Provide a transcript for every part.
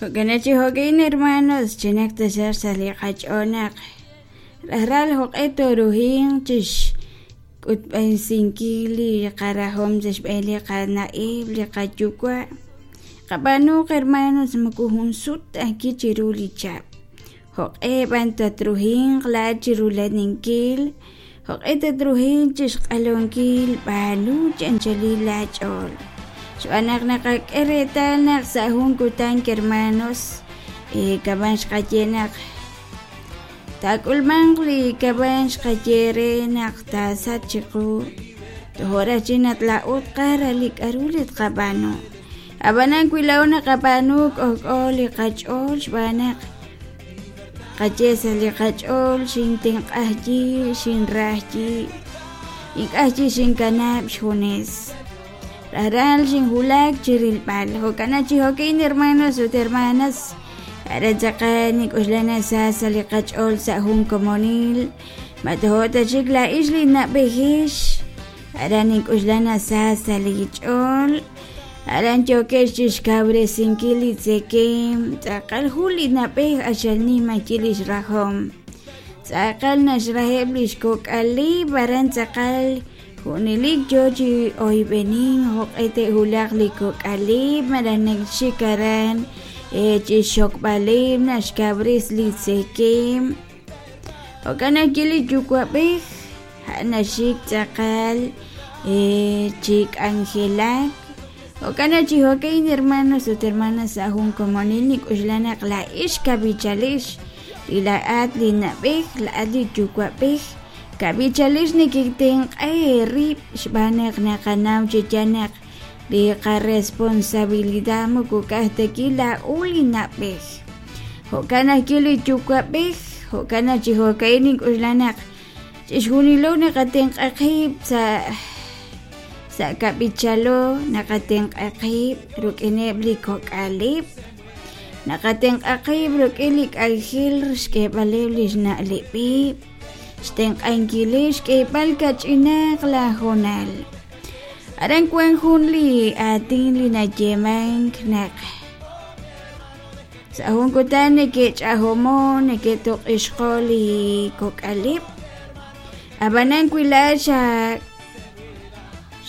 Jo'kan chi jo'ka'in hermanos, chinaq taxaq sa' li qach'ool naq rajlal jo'q'e tooruhinq chixk'utb'esinkil li qarahom sa' xb'een li qana'eb', li qayuwa'. Qab'aanuuq hermanos moko jun sut ta ajwi' chiru li chihab'. Jo'q'e b'an tatruhinq laa'at chi rula'aninkil, jo'q'e tatruhinq chi xq'alunkil, b'aanu chi anchalil laach'ool. Xb'aan naq naqak'e reetal naq sa' jun kutan hermanos, kama' xqaye naq taak'ulmanq li kama' xqaye re naq taasach chiqu, tojo' raj chik naq laa'o tqara li k'aru li tqab'aanu. Ab'anan wi laa'o naqab'aanu k'ojk'o li qach'ool xb'aan naq qaye sa' li qach'ool xintenq'ajyi, xinrajyi, ink'a' chi xinkanab' xjunes. Rajlal xinwulak chi rilb'al. Jo'kan chi jo'kin hermanos ut hermanas, aran tz'aqal nink'oxla naq sa sa' li qach'ool sa' jun komonil, ma tojo' ta chik laa'ix li na'b'ejix, aran nink'oxla naq sa sa' li ch'ool. Aran yookex chi xkawresinkil li tzekemq, tz'aqal jun li na'b'ej q'axal nim ajwi' li xrajom. Tz'aqal naxraheb' li xkok'aleb', aran tz'aqal junelik yo chi oyb'enink jo'q'e te'wulaq li kok'aleb' malaj naxik aran chi xxokb'aleb' naxkawres li tzekemq. Jo'kan ajwi' li yuwa'b'ej a'an naxik tz'aqal chi k'anjelak. Jo'kan naq chi jo'ka'in hermanos ut hermanas sa' jun komonil nink'oxla naq laa'ex kab'ichalix, li laa'at li na'b'ej, laa'at li yuwa'b'ej, kab'ichalix neketenq'a eerib' xb'aan naq naqanaw chi yaal naq li qaresponsabilidad moko ka'aj ta wi' laa'o li na'b'ej. Jo'kan ajwi' li yuwa'b'ej, jo'kan naq chi jo'ka'in nink'oxla naq Chixjunilo naqatenq'a qib' sa' sa' kab'ichalo naqatenq'a qib' rik'ineb' li kok'aleb', naqatenq'a qib' rik'in li k'anjel xk'eeb'aleb' li xna'leb'eb', xtenq'ankileb' xk'eeb'al kach'inaq la hoonal. Aran wank jun li aatin li nayeemank naq Sa' jun kutan neke'ch'ajomo', neke'toq'ixqo' li kok'aleb'. Ab'anan wi laa'at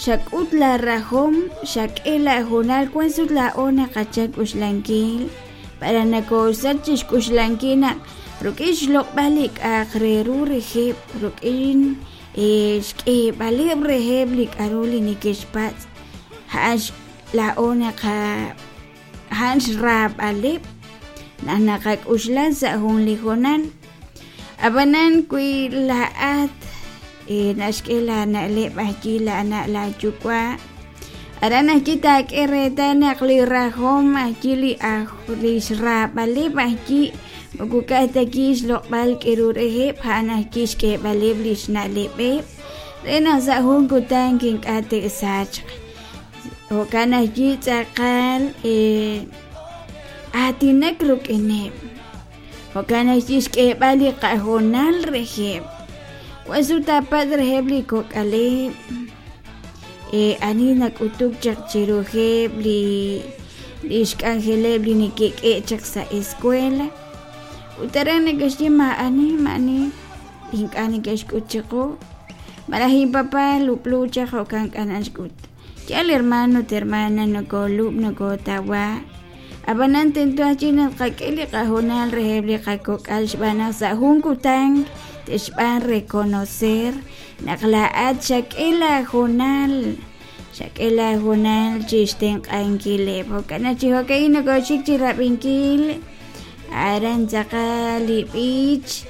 xak'ut laarahom, xak'e laahoonal, wank sut laa'o naqachal k'uxlankil, b'araq nokoosach chi xk'uxlankil naq rik'in xloq'b'al li k'a'aq re ru reheb', rik'in xk'eeb'aleb' reheb' li k'aru li neke'xpatz', a'an laa'o naqa A'an xraab'aleb' naq naqak'uxla sa' jun li hoonal. Ab'anan wi laa'at naxk'e laana'leb' ajwi' laana' laayuwa', aran ajwi' taak'e reetal naq li rajom ajwi' li aj li xraab'aleb' ajwi' moko ka'aj ta wi' xloq'b'al k'aru reheb', a'an ajwi' xk'eeb'aleb' li xna'leb'eb' re naq sa' jun kutan ink'a' te'sachq. Jo'kan ajwi' tz'aqal aatinak rik'ineb', jo'kan ajwi' xk'eeb'al li qahoonal reheb'. Wank sut taapatz' reheb' li kok'aleb' ani nak'utuk chaq chiruheb' li li xk'anjeleb' li neke'k'e chaq sa' escuela ut aran neke'xye maa'ani maa'ani ink'a' neke'xk'ut chiqu malaj inpapa lub'lu chaq jo'kan k'a naxk'ut. Yaal hermano ut hermana nokoolub' nokootawa ab'anan tento ajwi' naq tqak'e li qahoonal reheb' li qakok'al xb'aan naq sa' jun kutan te'xb'aan reconocer naq laa'at xak'e laahoonal xak'e laahoonal chi xtenq'ankileb' jo'kan naq chi jo'ka'in nokooxik chi rab'inkil aran tz'aqal li b'ich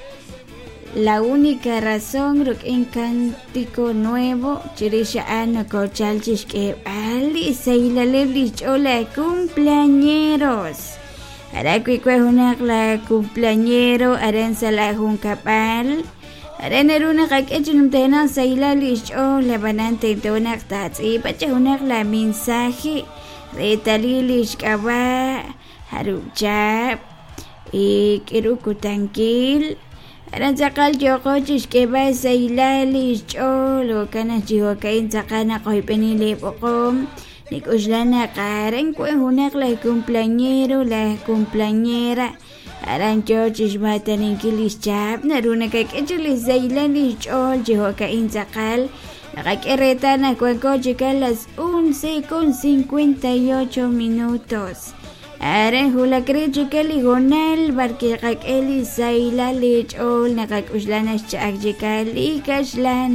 La única razón rik'in Cántico Nuevo chirix a'an nokochal chi xk'eeb'al li sahilaleb' li xch'ool la cumpleañeros. Aran wi wan junaq la cumpleañero aran sa' la junkab'al aran naru naqak'e chi numtajenaq sahilal li xch'ool ab'anan tento naq taatz'iib'a chi junaq la mensaje reetalil li xk'ab'a' jarub' chihab' k'aru kutankil aran tz'aqal yooqo chi xk'eeb'al sahilal li xch'ool jo'kan naq chi jo'ka'in tz'aqal naqoyb'eni li b'oqom. Nik'oxla naq aran wan junaq laj cumpleañero, laj cumpleañera aran yoo chixmaataninkil lix chahab' naru nakak'e chaq li sahilal li xch'ool chi jo'ka'in tz'aqal naqak'e reetal naq wanko chik a las 11:58 minutos. Aran wulak re chik li hoonal b'arwi' qak'e li sahilal li ch'ool naqak'oxla naq xcha'ak chik li kaxlan.